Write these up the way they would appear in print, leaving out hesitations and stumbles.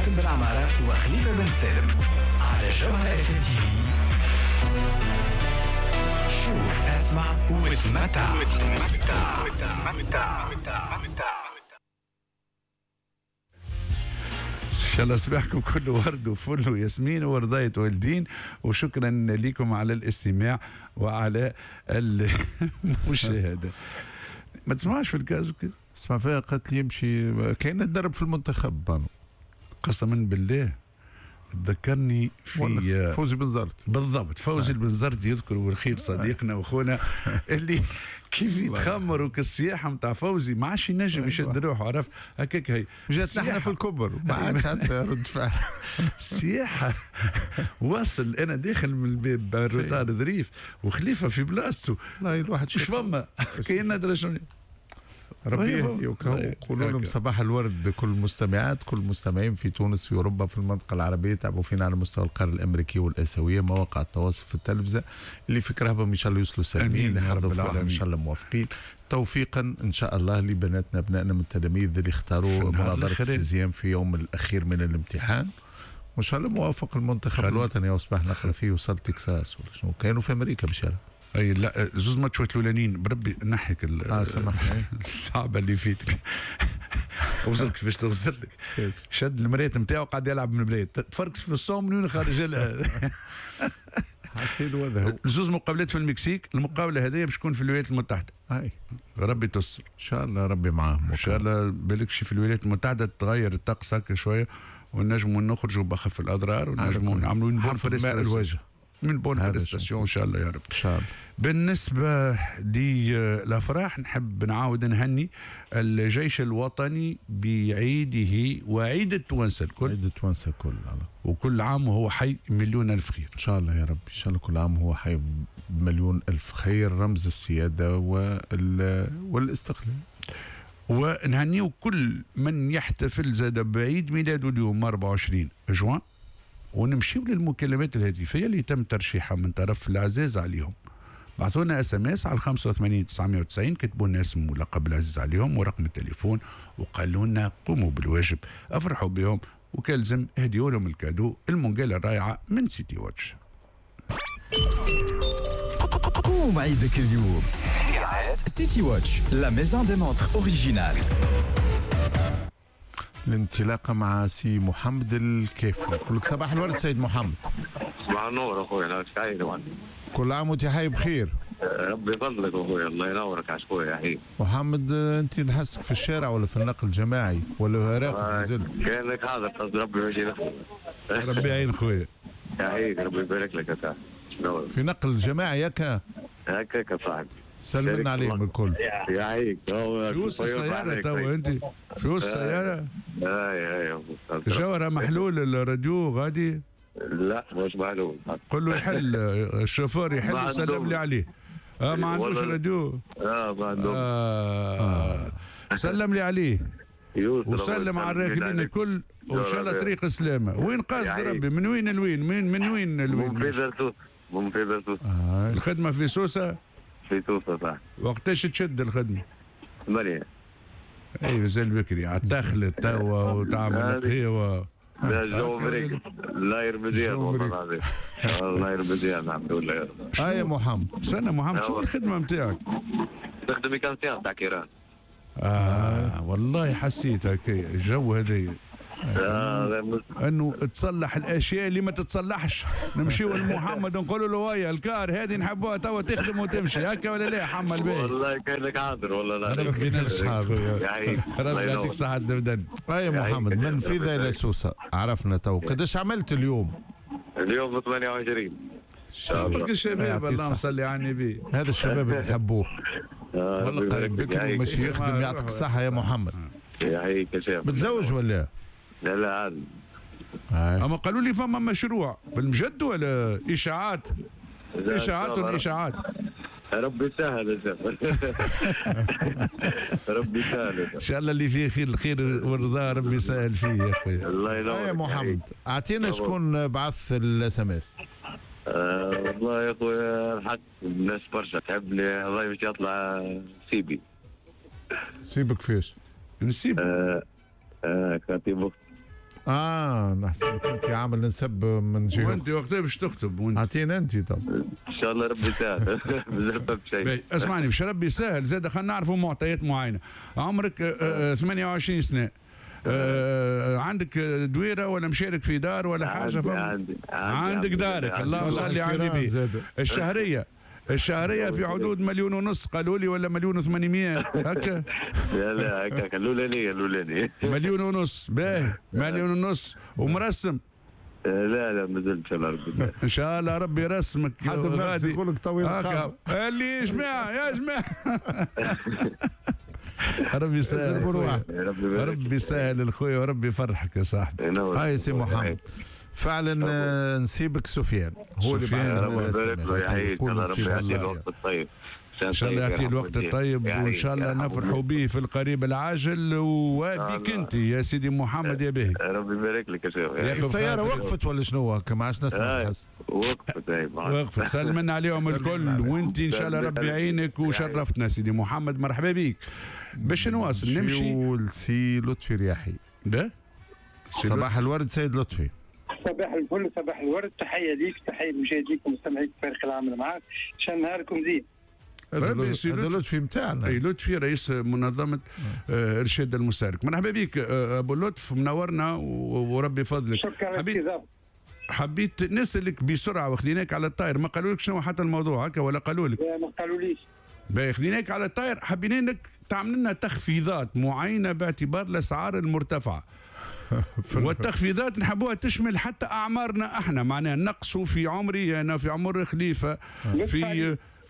حاتم بن عمارة وخليفة بن سالم على جوهرة اف ام تي في. شوف، اسمع وتمتع. ان شاء الله صباحكم كله ورد وفل وياسمين ورضاية والدين، وشكرا لكم على الاستماع وعلى المشاهدة. ما تسمعش في ال casque؟ اسمع فيها، قالت لي يمشي كاين تدرب في المنتخب بانو. قسما بالله تذكرني في فوزي بنزرت. بالضبط، فوزي البنزرت يذكر والخير صديقنا واخونا اللي كيف يتخمروا كالسياحه نتاع فوزي ما عادش ينجم يشد روحه، عرف هكاك. هي جات نحن في الكبر ما عادش حتى رد فعل. السياحة واصل انا داخل من الباب ال retard ظريف وخليفة في بلاصته. والله الواحد مش فما كاين ندري شنو. ربي يهدي. وقولوا لهم صباح الورد كل المستمعات كل المستمعين في تونس، في اوروبا، في المنطقة العربية، تعبوا فينا على مستوى القارة الامريكية والاسيويه، مواقع التواصل في التلفزة اللي في كرهبهم ان شاء الله يوصلوا سالمين، ان شاء الله موافقين توفيقا ان شاء الله لبناتنا ابنائنا من التلاميذ اللي اختاروا مناظرة ال sixième في يوم الاخير من الامتحان، وان شاء الله موافق المنتخب الوطني. وصباح نقرا فيه وصل تكساس ولا شنو، كانوا في امريكا باش يلعب. اي لا زوز ماتشات الاولانيين بربي نحيك الصعبة اللي فيتك. وصل كيفاش تغزر لك، شد المراية نتاعو قاعد يلعب من البلاد، تفركس في الصوم من وين خارج لها. حسيت وذا زوز مقابلات في المكسيك، المقابلة هذه باش تكون في الولايات المتحدة. اي ربي تستر ان شاء الله، ربي معاهم ان شاء الله. بالكش في الولايات المتحدة تغير الطقس هكا شوية ونجموا نخرجوا بخف الاضرار ونجموا نعملوا bonne الوجه من bonne prestation ان شاء الله يا رب. ان شاء الله. بالنسبة للافراح نحب نعاود نهني الجيش الوطني بعيدة وعيد التوانسة الكل. عيد التوانسة الكل، وكل عام وهو حي مليون الف خير ان شاء الله يا رب. ان شاء الله كل عام وهو حي بمليون الف خير، رمز السيادة والاستقلال. ونهنيو كل من يحتفل زاد بعيد ميلاده اليوم 24 جوان. ونمشيو للمكالمات الهاتفية اللي تم ترشيحها من طرف العزاز عليهم. بعثوا لنا SMS على 85 990، كتبوا لنا اسم ولقب العزيز عليهم ورقم التليفون وقالوا لنا قوموا بالواجب، افرحوا بهم وكالزم اهديوا لهم ال cadeau المونجاله الرائعة من سيتي واتش. قوم عيدك اليوم سيتي واتش، la maison des montres originales. الانطلاقة مع سي محمد الكافي. نقول لك صباح الورد سيد محمد. صباح النور اخويا، انا سعيد. كل عام وانت حي بخير. ربي يفضلك اخويا، الله ينورك على خويا يا حبيبي. محمد انت نحسك في الشارع ولا في النقل الجماعي ولا راقد نزلت؟ كانك حاضر قصد ربي يمشي. ربي يعين خويا. يعينك ربي يبارك لك يا صاحبي. في نقل جماعي ياك؟ هكاك يا صاحبي. سلمنا عليهم الكل. يعيك. في وسط السيارة توا انت؟ في وسط السيارة؟ اي اي. جوهرة محلول الراديو غادي؟ لا مش محلول. قل له يحل الشوفور يحل وسلم لي عليه. ما عندوش راديو. ما عندوش. سلم لي عليه. وسلم على الراكبين الكل وان شاء الله طريق سلامه. وين قاصد ربي؟ من وين لوين؟ من وين لوين؟ من سوسة. من سوسة. الخدمة في سوسة؟ في سوسة صح. وقتاش تشد الخدمة؟ 8. اي مازال بكري على الدخل توا وتعمل قهوة. لا الجو مريق لا يرمزيان والله العظيم. الله يرمزيان الحمد لله. يا محمد. استنى محمد، شو الخدمة نتاعك؟ نخدم mécanicien تاع كيران. والله حسيت هكا الجو هذا انه تصلح الاشياء اللي ما تتصلحش. نمشيو لمحمد نقولوا له ويا الكار هذه نحبوها توا تخدم وتمشي هكا ولا لا يا حمد باهي؟ والله كانك حاضر والله. لا ربي ينجحك ربي يعطيك صحة البدن. يا محمد من فيذا إلى سوسة عرفنا تو. قداش عملت اليوم؟ اليوم 28. شبابك الشباب اللهم صل على النبي. هذا الشباب اللي نحبوه والله، قريب بكري وماشي يخدم. يعطيك الصحة يا محمد. يعيك يا شيخ. متزوج ولا؟ لا لا عادي. اما قالوا لي فما مشروع بالمجد ولا اشاعات؟ اشاعات اشاعات. ربي يسهل يا شيخ. ربي يسهل ان شاء الله اللي فيه خير الخير والرضا ربي يسهل فيه يا خويا. الله ينورك يا محمد. اعطينا شكون بعث ال SMS. والله يا خويا الحق الناس برشا تحبني، الله باش يطلع سيبي. سيبك فيش؟ نسيب. خطيب اختي. نحسب كنت عامل نسب من جهة. وانت وقتها باش تخطب وانت اعطينا انت. طب ان شاء الله ربي يسهل. مازال شيء. اسمعني باش ربي يسهل زاد خلينا نعرفوا معطيات معينة. عمرك 28 سنة، عندك دويره ولا مشارك في دار ولا حاجة؟ عندي عندك دارك. اللهم صل على النبي. الشهرية في حدود 1.5 مليون قالوا لي، ولا 1.8 مليون هكا؟ لا لا هكا الاولاني 1.5 مليون. باهي 1.5 مليون ومرسم؟ لا لا مازال ان شاء الله ربي. ان شاء الله ربي يرسمك. حتى يقول لك طويل اللي يا جماعة يا جماعة. ربي يسهل، ربي يسهل الخويا وربي يفرحك يا صاحبي. هاي سي محمد فعلا نسيبك سفيان هو اللي بعد. ربي يعطيه الوقت الطيب ان شاء الله، يعطيه الوقت الطيب وان شاء الله نفرحوا به في القريب العاجل وبك انت يا سيدي محمد يا باهي. ربي يبارك لك يا شيخ. السيارة وقفت ولا شنو؟ ما عادش نسمع الحس. وقفت. وقفت. سلمنا عليهم الكل وانت ان شاء الله ربي يعينك وشرفتنا سيدي محمد، مرحبا بك. باش نواصل نمشي لسي لطفي رياحي. صباح الورد سيد لطفي. صباح الفل، صباح الورد، تحية ليك، تحية لمشاهديك ومستمعيك فريق العمل معاك، ان شاء نهاركم زين. هذا لطفي نتاعنا. اي لطفي رئيس منظمة ارشاد المستهلك. مرحبا بك ابو لطف، منورنا وربي يفضلك. شكرا. حبيت نسالك بسرعة وخديناك على الطاير، ما قالوا لك شنو حتى الموضوع هكا ولا قالوا لك؟ لا ما قالوليش. باهي خديناك على الطاير، حبينا انك تعمل لنا تخفيضات معينة باعتبار الاسعار المرتفعة. والتخفيضات نحبوها تشمل حتى اعمارنا احنا، معناها نقصوا في عمري انا، في عمر خليفة،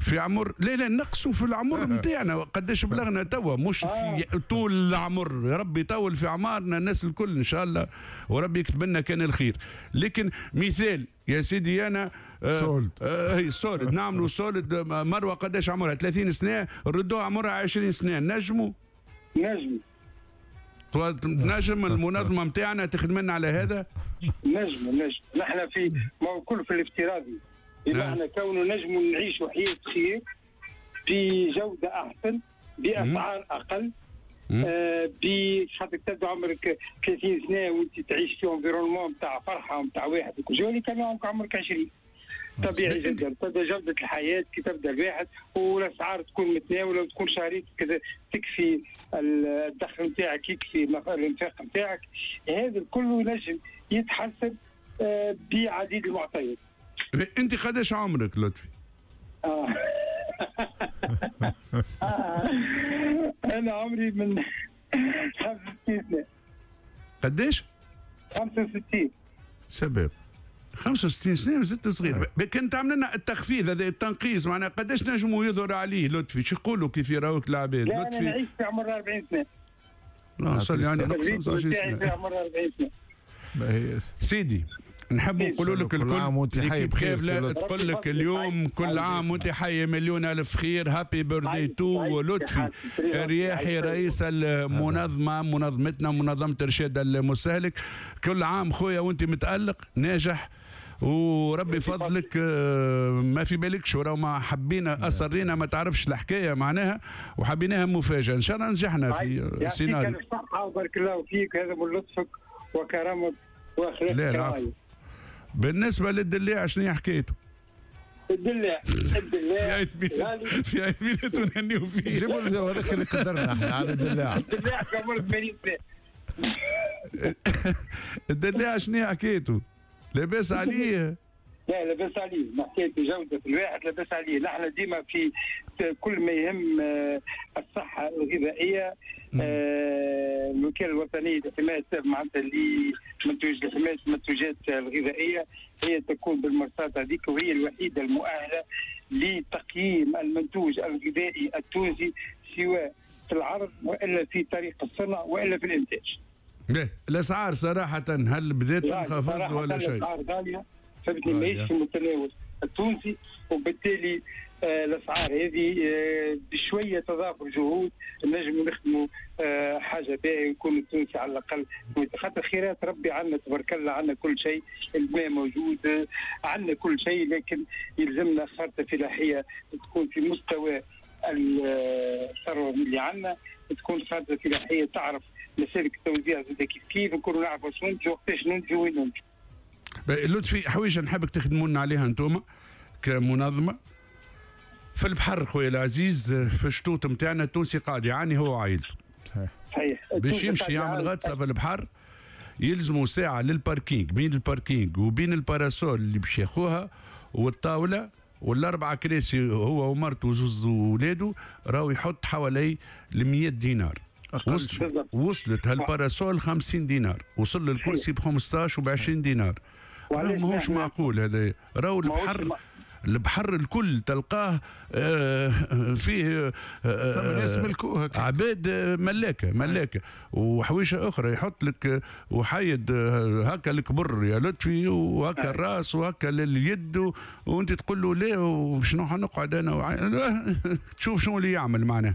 في عمر لا لا نقصوا في العمر نتاعنا قداش بلغنا توا، مش في طول العمر. ربي يطول في اعمارنا الناس الكل ان شاء الله وربي يكتب لنا كان الخير. لكن مثال يا سيدي انا solde، هي solde، نعملوا solde. مروه قداش عمرها؟ 30 سنة، ردوها عمرها 20 سنة. نجموا نجم المنظمة نتاعنا تخدم لنا على هذا؟ نجم نحن في ما هو كل في الافتراضي، بمعنى كونه نجم نعيشوا حياة خير بجوده احسن باسعار اقل، خاطر تبدا عمرك 30 سنة وانت تعيش في environnement نتاع فرحه ونتاع واحد وكل شيء، كان عمرك 20. طبيعي جدا تبدا جوده الحياة كي تبدا الواحد والاسعار تكون متناوله وتكون شهريتك تكفي الدخل نتاعك، يكفي الانفاق نتاعك، هذا الكل ينجم يتحسن بعديد المعطيات. انت قداش عمرك لطفي؟ انا عمري من 65 سنة. قداش؟ 65. شباب 65 سنة وزدت صغير. كان تعمل لنا التخفيض هذا التنقيص، معناها قداش نجموا يظهر عليه لطفي؟ شو يقولوا كيف يراوك العباد؟ لا لطفي انا نعيش في عمر 40 سنة. لا صار يعني نقص 25 سنة. في عمر 40 سنة. سيدي نحب نقولوا لك الكل عام وانت حي بخير. تقول لك اليوم كل عام وانت حي مليون الف خير. happy birthday to لطفي الرياحي رئيس المنظمة، منظمتنا منظمة ارشاد المستهلك. كل عام خويا وانت متالق ناجح وربي فضلك. ما في بالكش وراه ما حبينا اصرينا ما تعرفش الحكاية معناها وحبيناها مفاجاة. ان شاء الله نجحنا في السيناريو. يعطيك الصحة وبارك الله فيك، هذا من لطفك وكرمك واخلاقك. لا العفو. بالنسبة للدلاع شنو هي حكايته؟ الدلاع في عيد ميلاده نهنيو فيه. جيبوا هذاك اللي قدرنا احنا على الدلاع. الدلاع في عمر 80 سنة. الدلاع شنو هي حكايته؟ لاباس عليه؟ لا لاباس عليه، حكاية جودة الواحد لاباس عليه. نحن ديما في كل ما يهم الصحة الغذائية، الوكالة الوطنية لحماية معناتها لمنتوج لحماية المنتوجات الغذائية هي تكون بالمرصاد هذيك، وهي الوحيدة المؤهلة لتقييم المنتوج الغذائي التونسي سواء في العرض والا في طريق الصنع والا في الانتاج. الاسعار صراحة هل بدات تنخفض ولا شيء؟ الاسعار غالية، فهمتني، ماهيش في متناول التونسي، وبالتالي الاسعار هذه بشوية تضافر جهود نجموا نخدموا حاجة باهيه ويكون التونسي على الاقل، خاطر خيرات ربي عندنا تبارك الله، عندنا كل شيء، الماء موجود، عندنا كل شيء، لكن يلزمنا خارطة فلاحية تكون في مستوى الثروة اللي عندنا، تكون خارطة فلاحية تعرف مسالك التوزيع زاد كيف كيف، نكونوا نعرفوا شنو ننتجوا، وقتاش ننتجوا، وين ننتجوا. لطفي، حويجه نحبك تخدموا لنا عليها انتم كمنظمه في البحر خويا العزيز، في الشطوط نتاعنا التونسي قاعد يعاني هو وعائلته. صحيح. باش يمشي يعمل غطسه في البحر يلزموا ساعة لل parking، بين ال parking وبين ال parasol اللي باش ياخوها والطاوله والاربعة كراسي هو ومرته وزوز ولاده، راهو يحط حوالي 100 دينار. وصلت هال parasol 50 دينار، وصل للكرسي ب 15 وب 20 دينار. راهو ماهوش معقول هذا. راهو البحر الكل تلقاه فيه ناس ملكوها، عباد ملاكه وحويشه اخرى، يحط لك وحيد هكا الكبر يا لطفي، وهكا الراس وهكا اليد، وانت تقول له ليه وشنو حنقعد انا تشوف شنو اللي يعمل معنا.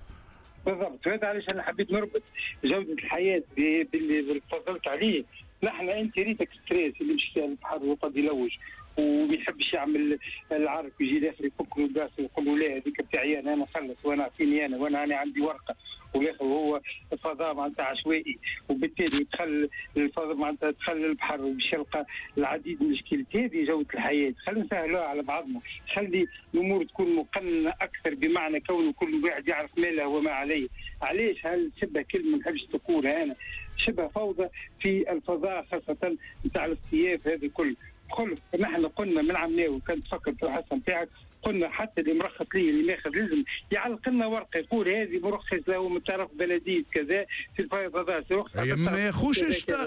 بالضبط، هذا علاش انا حبيت نربط جوده الحياة باللي تفضلت عليه. نحن انت ريتك stress اللي مشى البحر وقد يلوج وما يحبش يعمل العرك، ويجي الاخر يفك له الباس ويقول له لا هذيك بتاعي انا نخلص وانا اعطيني انا وانا عندي ورقة، والاخر هو فضاء معناتها عشوائي، وبالتالي دخل الفضاء معناتها دخل البحر وباش يلقى العديد من المشكلات. هذه جوده الحياة، خلينا نسهلوها على بعضنا، خلي الامور تكون مقننه اكثر، بمعنى كون كل واحد يعرف ما له وما عليه. علاش هل شبه كلمة ما نحبش تقولها انا، شبه فوضى في الفضاء خاصة نتاع الاصطياف هذا الكل. خلف نحن قلنا من عمناوي، كان تفكر في الحصة نتاعك، قلنا حتى اللي مرخص ليه اللي ماخذ لازم يعلق لنا ورقة يقول هذه مرخص له من طرف بلديه كذا في الفيضانات. ما ياخوش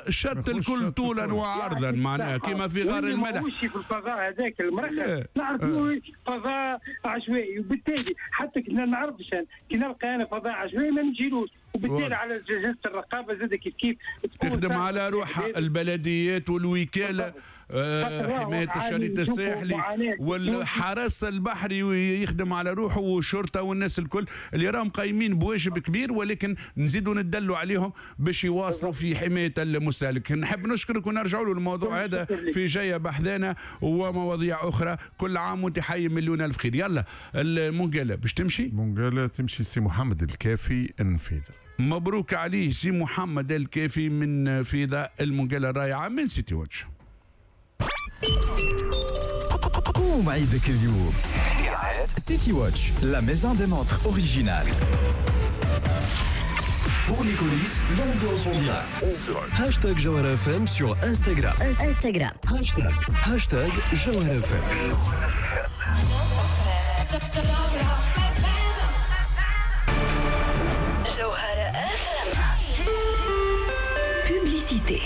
الشط الكل طولا وعرضا معناها كما في غار الملح. ما في الفضاء هذاك المرخص نعرفوا فضاء عشوائي، وبالتالي حتى كي ما نعرفش كي نلقى انا فضاء عشوائي ما نجيلوش، وبالتالي على جهاز الرقابة زاد كيف كيف تخدم على روحها البلديات والوكالة حماية الشريط الساحلي والحرس البحري يخدم على روحه والشرطة والناس الكل اللي راهم قايمين بواجب كبير، ولكن نزيدوا ندلوا عليهم باش يواصلوا في حماية المستهلك. نحب نشكرك ونرجعوا له الموضوع هذا في جاية بحذانا ومواضيع اخرى. كل عام وانت حي مليون الف خير. يلا المونجالا باش تمشي، مونجالا تمشي سي محمد الكافي النفيذه. مبروك عليه سي محمد الكافي من فيضة المونجالا الرائعة من سيتي واتش. قوم عيدك اليوم سيتي واتش، la maison des montres originales. Pour les coulisses, l'ambiance en direct. Hashtag Jawhara FM sur Instagram. Instagram. Hashtag Jawhara FM. Jawhara FM. Publicité.